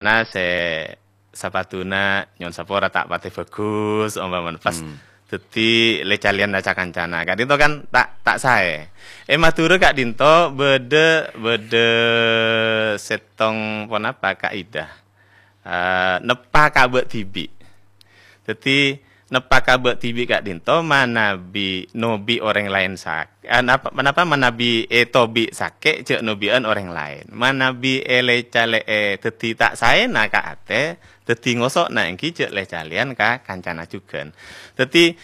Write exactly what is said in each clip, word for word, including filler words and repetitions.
Nah, sè sapatuna nyo'on sapora ta' patè bhâghus, ompamana pas Hmm. dhâddhi lè-calèyan ca-kancana. Ka'dhinto kan ta', ta' saè. È Madhurâ ka'dhinto bâdâ, bâdâ sèttong ponapa kaidah. Eh, neppa ka bâ' dhibi'. Dhâddhi, neppa ka bâ' dhibi' ka'dhinto manabi nobi orèng laèn sak-, eh, napa, napa manabi ètobi sakè' jhâ' nobi'ân orèng laèn. Manabi èlè-calè'è dhâddhi ta' saèna ka atè, dhâddhi ngoso'na èngghi jhâ' lè-calèyan ka kancana jhughân. Dhâddhi,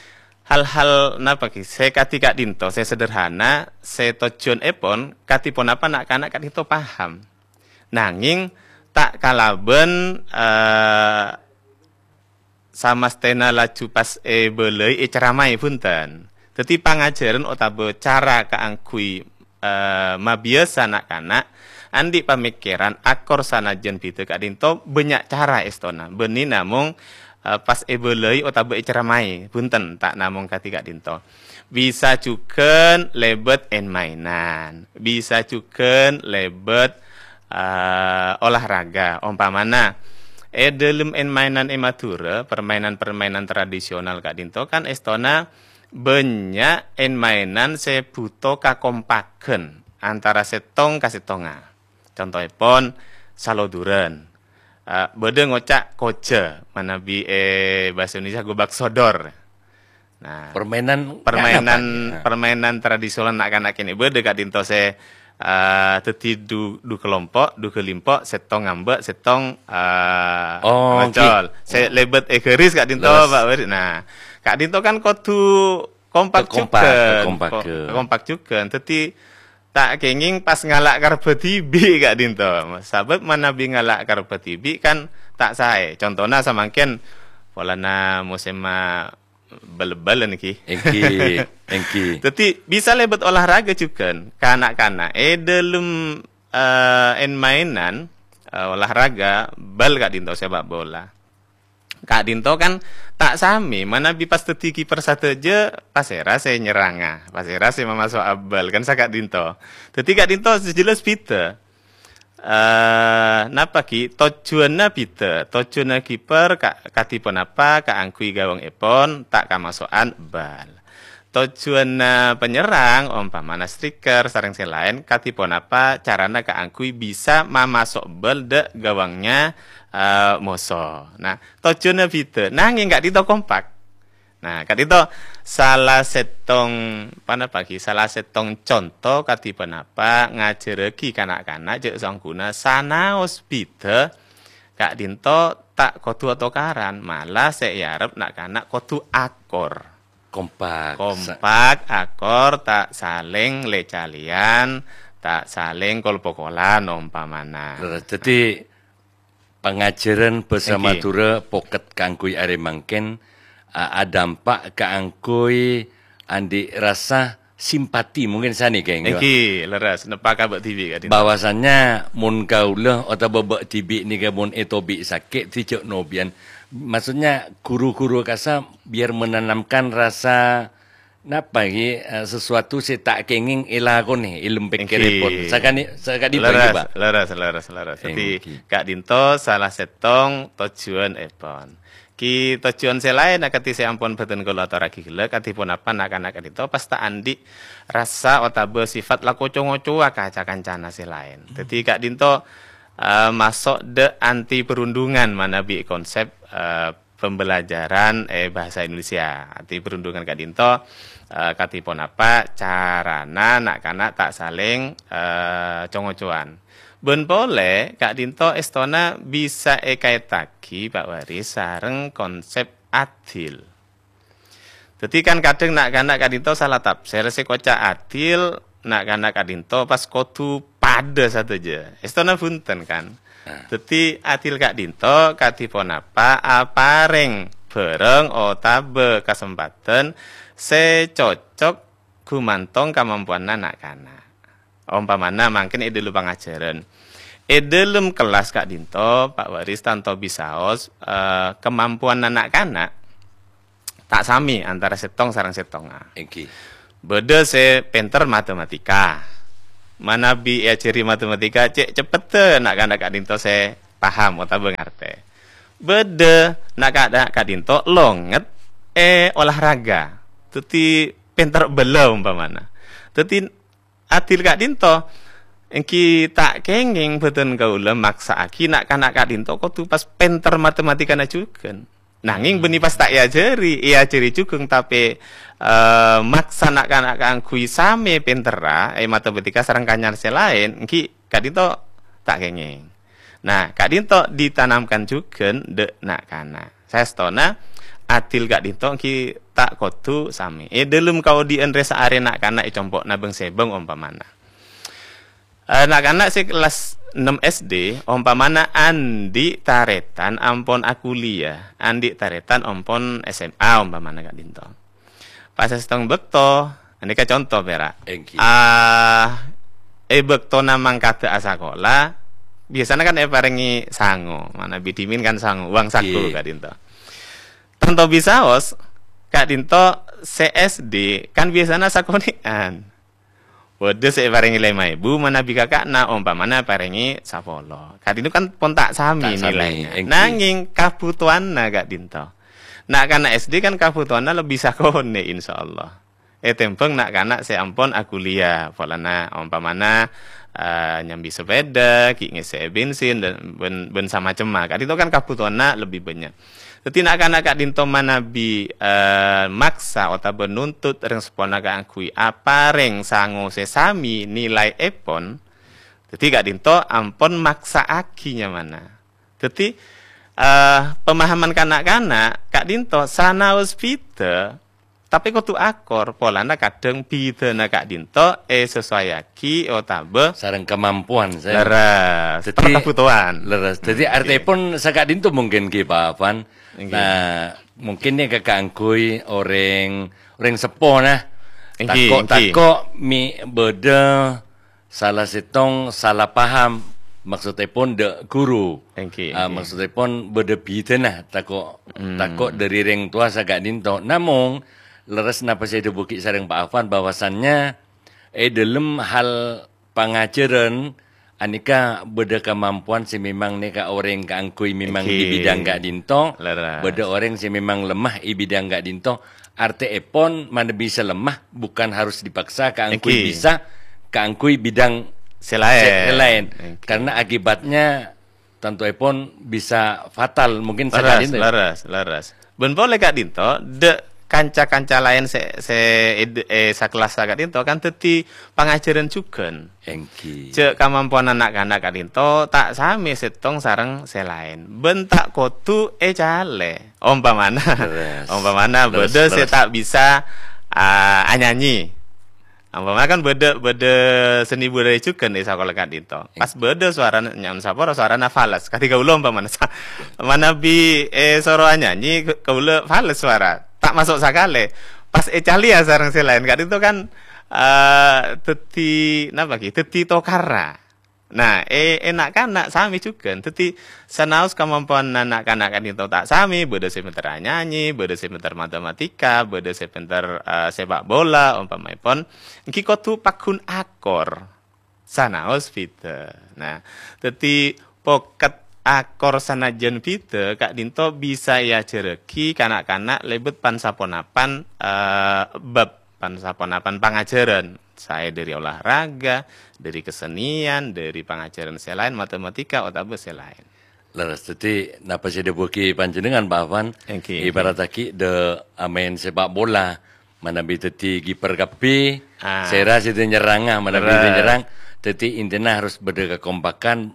hal-hal napa ghi, sè kadhi ka'dhinto, sè sederhana, sè tojjhuwânnèpon, kadhi ponapa na'-kana' ka'dhinto paham. Nangèng ta' kalabân, eh, samastèna laju pas èbâlâi èceramaè, bhunten. Dhâddhi, pangajhârân otabâ cara kaangghuy, eh, mabiyasa na'-kana' andi' pamèkkèran akor sanajjhân bhidhâ ka'dhinto bânnya' cara èstona. Bânnè namong, eh, pas èbâlâi otabâ èceramaè, bhunten, ta' namong kadhi ka'dhinto. Bisa jhughân lèbât èn-maènan, bisa jhughân lèbât eh, olahraga. Ompamana, è dhâlem èn-maènan è Madhurâ, permainan-permainan tradisional ka'dhinto kan èstona bânnya' èn-maènan sè bhuto kakompaghân antara sèttong ka sèttongnga. Contoèpon, salodurân. Eh, bâdâ ngoca' koja, manabi è bhâsa Indonesia gobak sodor. Nah, Permainan permainan, apa nih? Nah. Permainan tradisional na'-kana' kènè' bâdâ ka'dhinto sè, eh, dhâddhi du, du kelompo', du kelimpo', sèttong ngambâ', sèttong, eh, Oh, ngocol. Sè lèbât è garis ka'dhinto, Pak Waris. Nah, ka'dhinto kan kodhu kompak jhughân. Kompak, kompak. Ko-, kompak jhughân. Dhâddhi, ta' kèngèng pas ngala' karebbhâ dhibi' ka'dhinto. Sabâb manabi ngala' karebbhâ dhibi' kan ta' saè. Contona samangkèn polana mosèmma bal-balan ghi. Èngghi, èngghi. Dhâddhi, bisa lèbât olahraga jhughân. Ka na'-kana' è dhâlem, eh, èn-maènan, eh, olahraga bal ka'dhinto sèpak bola. Ka'dhinto kan ta' samè, manabi pas dhâddhi kiper sadhâjâ, pasèra sè nyerranga, pasèra sè mamaso'a bal, kan saka'dhinto. Dhâddhi ka'dhinto sè jelas bhidhâ. Eh, napa ghi? Tojjhuwânna bhidhâ. Tojjhuwânna kiper ka-, kadhi ponapa kaangghuy gawangngèpon ta' kamaso'an bal. Tojjhuwânna panyerrang, ompamana striker sareng sè laèn, kadhi ponapa carana kaangghuy bisa mamaso' bal dâ' gawangnya, eh, moso. Nah, tojjhuwânna bhidhâ, nangèng ka'dhinto kompak. Nah, ka'dhinto sala sèttong, ponapa ghi, sala sèttong conto kadhi ponapa ngajhârrâghi kana'-kana' jhâ' sangghuna sanaos bhidhâ, ka'dhinto ta' kodhu atokaran, malah sè èarep na'-kana' kodhu akor. Kompak. Kompak, akor, ta' salèng lè-calèyan, ta' salèng kol-pokolan, ompamana. Leres. Dhâddhi, pangajhârân bhâsa Èngghi. Madhurâ pokèt kaangghuy arè mangkèn, a-, adampak kaangghuy andi' rasa simpati, mungkin sanèka, èngghi, Pak? Èngghi, leres. Neppa ka bâ' dhibi' ka'dhinto. Bahwasannya mon kaulâ otabâ bâ' dhibi' nèka mon ètobi' sakè', dhâddhi jhâ' nobi'ân. Maksudnya, guru-guru kasa biar menanamkan rasa, napa, ghi, eh, sesuatu sè ta' kèngèng èlakonè, è lem pèkkèrèpon. Èngghi. Sakani-, sakadhibi, Leres, Pak. Leres, leres, leres. Dhâddhi, Èngghi. Ka'dhinto sala sèttong tojjhuwânèpon. Ghi tojjhuwân sè laèn akadhi sè ampon bhâdhân kaulâ atorraghi ghellâ', kadhi ponapa na'-kana' ka'dhinto pas ta' andi' rasa otabâ sifat la co-ngocowa ka ca-kancana sè laèn. Dhâddhi ka'dhinto, eh, maso' dâ' anti perundungan manabi konsep, eh, pembelajaran è bhâsa Indonesia. Anti perundungan ka'dhinto, eh, kadhi ponapa carana na'-kana' ta' salèng, eh, co-ngocowan. Bân polè, ka'dhinto èstona bisa èkaèttaghi, Pak Waris, sareng konsep adil. Dhâddhi kan kadhâng na'-kana' ka'dhinto sala tafsir, sè koca' adil, na'-kana' ka'dhinto pas kodhu padâ sadhâjâ. Èstona bhunten, kan? Nah. Dhâddhi adil ka'dhinto kadhi ponapa aparèng bhârâng otabâ kasempadhân sè cocok ghumantong kamampowanna na'-kana'. Ompamana mangkèn è dhâlem pangajhârân. È dhâlem kellas ka'dhinto, Pak Waris tanto bisaos, eh, kamampowanna na'-kana' ta' samè antara sèttong sareng sèttongnga. Èngghi. Bâdâ sè pènter matematika. Manabi èajhâri matematika, cè' ceppetta na'-kana' ka'dhinto sè paham otabâ ngartè. Bâdâ na'-kana' ka'dinto longet è olahraga. Dhâddhi pènter bâlâ ompamana. Dhâddhi adil ka'dinto, èngghi ta' kèngèng bhâdhân kaulâ maksa'aghi na'-kana' ka'dinto kodhu pas pènter matematikana jhughân. Nangèng bânnè pas ta' èajhâri, èajhâri jhughân, tapè, eh, maksa na'-kana' kaangghuy samè pènterra è matematika sareng kanyar sè laèn, èngghi ka'dinto ta' kèngèng. Nah, ka'dinto ditanamkan jhughân dâ' na'-kana'. Saèstona, adil ka'dinto èngghi ta' kodhu samè. È dhâlem kaodi'ân rè-saarè na'-kana' è compo'na bâng-sèbâng ompamana. Eh, na'-kana' sè kellas ennem S D, ompamana andi' tarètan ampon akuliah, andi' tarètan ampon S M A ompamana ka'dinto. Pas sèttong bâkto, anèka conto pèra'. Èngghi. Ah, è bâktona mangkada asakola, biasana kan èparèngè sango, manabi dhimèn kan sango, uang saku Ngghi. ka'dinto. Tanto bisaos, ka'dinto sè S D kan biasana sakonè'an. Bâdâ sè èparèngè lèma èbu, manabi kaka'na, ompamana parèngè sapolo. Ka'dinto kan pon ta' samè Ta' samè, nilaina. èngghi. Nangèng kabhutowanna ka'dinto. Na'-kana' S D kan kabhutowanna lebbi sakonè', insyaallah. Ètèmbhâng na'-kana' sè ampon akuliah, polana ompamana, eh, nyambi sepeda, ghi' ngèssè'è bensin, dan bân, bân samacemma. Ka'dinto kan kabhutowanna lebbi bânnya'. Dhâddhi na'-kana' ka'dinto manabi, eh, maksa otabâ nuntut rèng seppona kaangghuy aparèng sango sè samè nilaèpon, dhâddhi ka'dinto ampon maksa'aghi nyamana. Dhâddhi, eh, pemahaman ka na'-kana' ka'dinto sanaos bhidhâ, tapè kodhu akor, polana kadhâng bhidhâna ka'dinto èsesuaiyaghi otabâ Sareng kamampowan, saya. Leres, Dhâddhi, per kabhutowan. Leres. Dhâddhi, Oke. artèpon saka'dinto mungkin, ghi, Pak Afan. Ngghi. Nah, mungkin nèka kaangghuy orèng, orèng seppo, nah. Ngghi, Tako', ngghi. tako' mè' bâdâ sala sèttong sala paham, maksodèpon dâ' guru. Ngghi, Ah, ngghi. maksodèpon bâdâ bhidhâna, tako', Hmm. tako' dâri rèng towa saka'dinto. Namong, leres napa sè èdhâbuwaghi sareng Pak Afan, bahwasannya è dhâlem hal pangajhârân, anèka bâdâ kamampowan sè memang nèka orèng kaangghuy memang di Èngghi. bidang ka'dinto, Leres. bâdâ orèng sè memang lemah è bidang ka'dinto. Artèèpon, manabi sè lemah bukan harus dipaksa kaangghuy Èngghi. bisa, kaangghuy bidang Sè laèn. sè laèn. Èngghi. Karena akibatnya tantoèpon bisa fatal, mungkin Leres, saka'dinto. leres, leres. Bân polè ka'dinto, dâ' kanca-kanca laèn sè, sè ed-, è sakellas saka'dinto kan dhâddhi pangajhârân jhughân. Èngghi. Jhâ' kamampowanna na'-kana' ka'dinto ta' samè sèttong sareng sè laèn. Bân ta' kodhu ècalè. Ompamana, Leres. ompamana Leres, bâdâ sè leres. ta' bisa, ah, anyanyi. Ompama kan bâdâ, bâdâ seni budaya jhughân è sakola ka'dinto. Pas bâdâ sowarana, nyaman sapora sowarana fales. Kadhi kaulâ ompamana sa-, manabi, eh, soro anyanyi, ka-, kaulâ fales sowara. Ta' maso' sakalè. Pas ècalèya sareng sè laèn ka'dinto kan, eh, dhâddhi, napa ghi? Dhâddhi tokarra. Nah, è, è na'-kana' samè jhughân. Dhâddhi, sanaos kamampowanna na'-kana' ka'dinto ta' samè, bâdâ sè pènter anyanyi, bâdâ sè pènter matematika, bâdâ sè pènter, eh, sepak bola, ompamaèpon, èngghi kodhu pagghun akor, sanaos bhidhâ. Nah, dhâddhi, poket akor sanajjhân bhidhâ, ka'dinto bisa èajhârraghi ka na'-kana' lèbât pan-saponapan, eh, bab pan-saponapan pangajhârân, saè dâri olahraga, dâri kesenian, dâri pangajhârân sè laèn, matematika, otabâ sè laèn. Leres, dhâddhi napa sè èdhâbuwaghi panjhennengngan, Pak Afan, Èngghi, èngghi. ibarattaghi dâ' amaèn sepak bola, manabi dhâddhi kiper kabbhi, Ah. sèra sè nyerranga, manabi Leres. nyerrang, dhâddhi intina harus bâdâ kakompakan,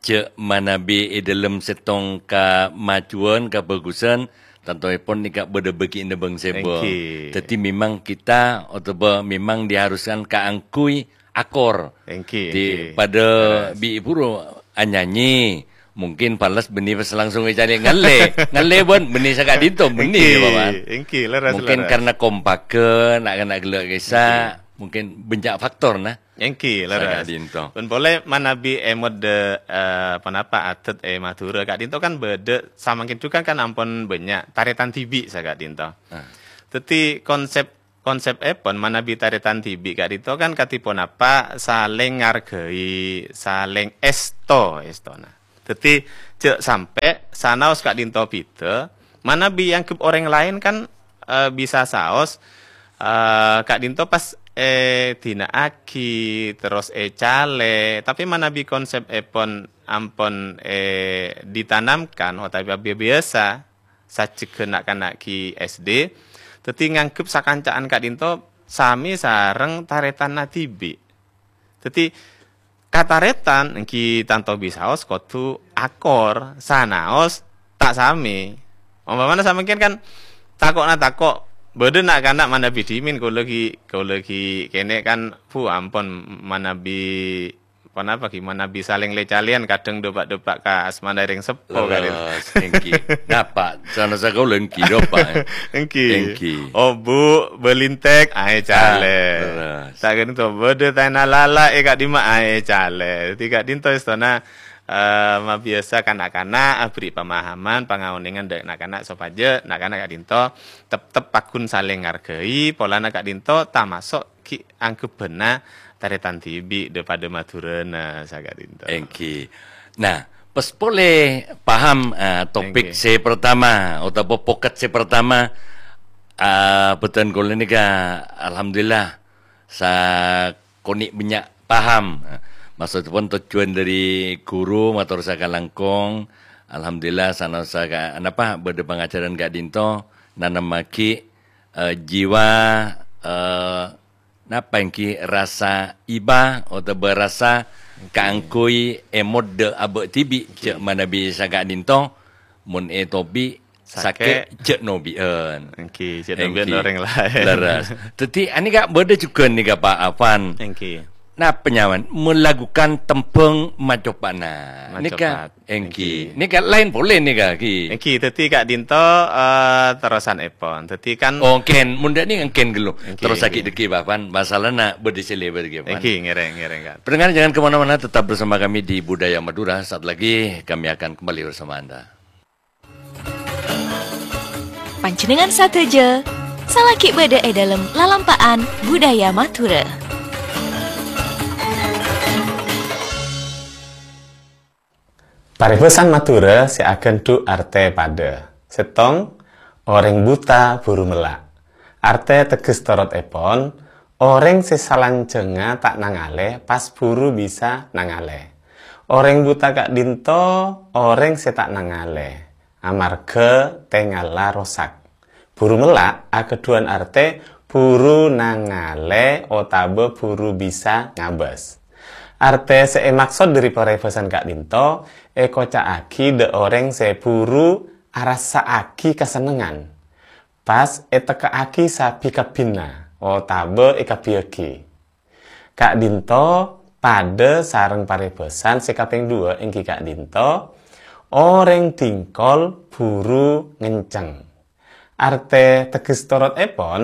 jhâ' manabi è dhâlem sèttong kamajuwân, kabhâghusân, tantoèpon nèka bâdâ bâgiânna bâng-sèbâng. Èngghi. Dhâddhi, memang kita otabâ memang diharuskan kaangghuy akor. Èngghi, Di èngghi. padâ Leres. bi' buru anyanyi, mungkin fales bânnè pas langsung ècalè ngallè. Ngallè bân bânnè saka'dinto, bânnè Èngghi, ya, Bapak. èngghi, leres, Mungkin leres. karena kompakka, na'-kana' ghellâ' kèsa, Èngghi. mungkin bânnya' faktor, nah. Èngghi, leres. Saka'dinto. Bân polè manabi è modâ, eh, ponapa adât è Madhurâ ka'dinto kan bâdâ, samangkèn jhughân kan ampon bânnya', tarètan dhibi' saka'dinto. Ah. Dhâddhi konsèp, konsèpèpon manabi tarètan dhibi' ka'dinto kan kadhi ponapa salèng ngarghâi, salèng èsto, èstona. Dhâddhi, jhâ' sampè' sanaos ka'dhinto bhidhâ, manabi èangghep orèng laèn kan, eh, bisa saos, eh, ka'dhinto pas èdina'aghi, terros ècalè. Tapè manabi konsèpèpon ampon, eh, ditanamkan otabâ biyasa sajjhegghâ na'-kana' ghi' S D, dhâddhi nganggep sakanca'an ka'dhinto sami sareng tarètanna dhibi'. Dhâddhi, katarètan ènggi tanto bisaos kodhu akor, sanaos ta' sami. Ompamana samangkèn kan tako' na tako', bâdâ na'-kana' manabi dhimèn, kaulâ ghi', kaulâ ghi' kènè' kan, bu, ampon manabi, ponapa ghi, manabi salèng lè-calèyan, kadhâng dâpa'-dâpa' ka asmana rèng seppo, kan. Lerres, ènggi. Napa? Sana sakaulâ ènggi, dâpa', eh. Ènggi. Ènggi. Obu, bâlintek, aè calè. Ah, lerres. Ta' ka'dhinto bâdâ taèna lala, eh, ka'dimma aè calè. Dhâddhi ka'dhinto èstona, eh, mabiyasa ka na'-kana' aberri' pamahaman, pangaonèngan dâ' na'-kana' sopajâ na'-kana' ka'dhinto tep-tep paggun salèng ngargai, polana ka'dhinto tamaso' ghi' angghepbhâna tarètan dhibi' dâ-, padâ Madhurâna saka'dhinto. Ènggi. Nah, pas polè paham, eh, topik Ènggi. sè pertama, otabâ pokat sè pertama, eh, bhâdhân kaulâ nèka, alhamdulillah, sakonè' bânnya' paham. Maksoddhâpon tojjhuwân dâri ghuru mator sakalangkong, alhamdulillah, sanaos saka-, napa, bâdâ pangajhârân ka'dhinto, nanemmaghi, eh, jiwa, eh, napa ènggi rasa iba otabâ rasa Ènggi. kaangghuy èmoddhâ abâ' dhibi', Ènggi. jhâ' manabi saka'dhinto, mon ètobi' Sakè'. sakè', jhâ' nobi'ân. Ènggi, jhâ' nobi'ân Ènggi. orèng laèn. Lerres. Dhâddhi, anèka bâdâ jhughân nèka, Pak Afan. Ènggi. Napa nyamana? Melakukan tembhâng macopa'na. Nèka, Macopat. ènggi. Ènggi. Nèka laèn polè nèka, ghi. Ènggi, dhâddhi ka'dhinto, eh, terrosanèpon. Dhâddhi kan Oh, èngkèn. Mon dâ' nèka èngkèn ghâllu. Ènggi, Terros ènggi. sakè' dâgghi', Pak Afan. Masalana bâdâ sè lèbât, ghi, Pak Afan. Ènggi, ngèrèng, ngèrèng, Kak. Pendengar, jangan kemana-mana, tetap bersama kami di Budaya Madura. Saat lagi kami akan kembali bersama Anda. Panjhennengngan sadhâjâ, salaghi bâdâ è dâlem lalampa'an budaya Madhurâ. Parèbhâsan Madhurâ sè aghândhu' artè padâ. Sèttong, orèng buta buru mella'. Artè tegghes torotèpon, orèng sè salanjhângnga ta' nangalè pas buru bisa nangalè. Orèng buta ka'dhinto orèng sè ta' nangalè, amarghâ tèngalla rosak. Buru mella' aghâdhuwân artè buru nangalè otabâ buru bisa ngabâs. Artè sè èmaksod dâri parèbhâsan ka'dhinto èkoca'aghi dâ' orèng sè buru arassa'aghi kasennengngan, pas ètekka'aghi sabi-kabbhina otabâ èkabbhiyâghi. Ka'dhinto padâ sareng parèbhâsan sè kapèng duwâ', ènggi ka'dhinto, orèng dhingkol buru ngenceng. Artè tegghes torotèpon,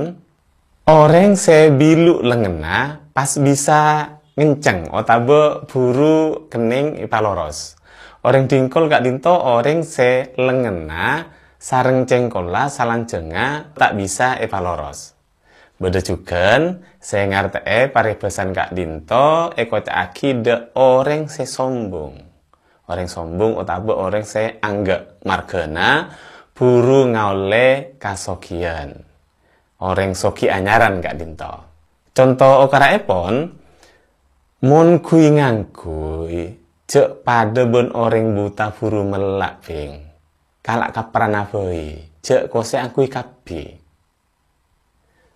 orèng sè bilu lengngenna pas bisa ngenceng otabâ buru kennèng èpaloros. Orèng dhingkol ka'dhinto orèng sè lengngenna sareng cèngkolla salanjhângnga ta' bisa èpaloros. Bâdâ jhughân sè ngartè'è parèbhâsan ka'dhinto èkoca'aghi dâ' orèng sè sombong. Orèng sombong otabâ orèng sè angghâ' marghâna buru ngaollè kasoghiyân. Orèng sogi anyaran ka'dhinto. Conto okara'èpon, mon ghuy-ngangghuy, jhâ' padâ bân orèng buta buru mella', Bhing. Kala' kaprana bhâi, jhâ' kosè angghuy kabbhi.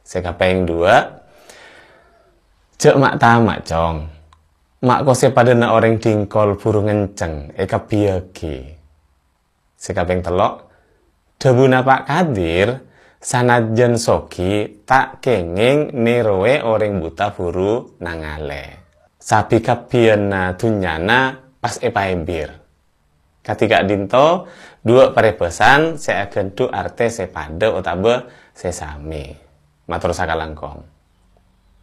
Sè kapèng duwâ', jhâ' ma'-tama', Cong. Ma' kosè padâna orèng dhingkol buru ngenceng èkabbhiyâghi. Sè kapèng tello', dhâbuna Pa' Kadir, sanajjân sogi ta' kèngèng nèrowè orèng buta buru nangalè. Sabi-kabbhiyânna dhunnyana pas èpaèbir. Kadhi ka'dhinto, duwâ' parèbhâsan sè aghândhu' artè sè padâ otabâ sè samè. Mator sakalangkong.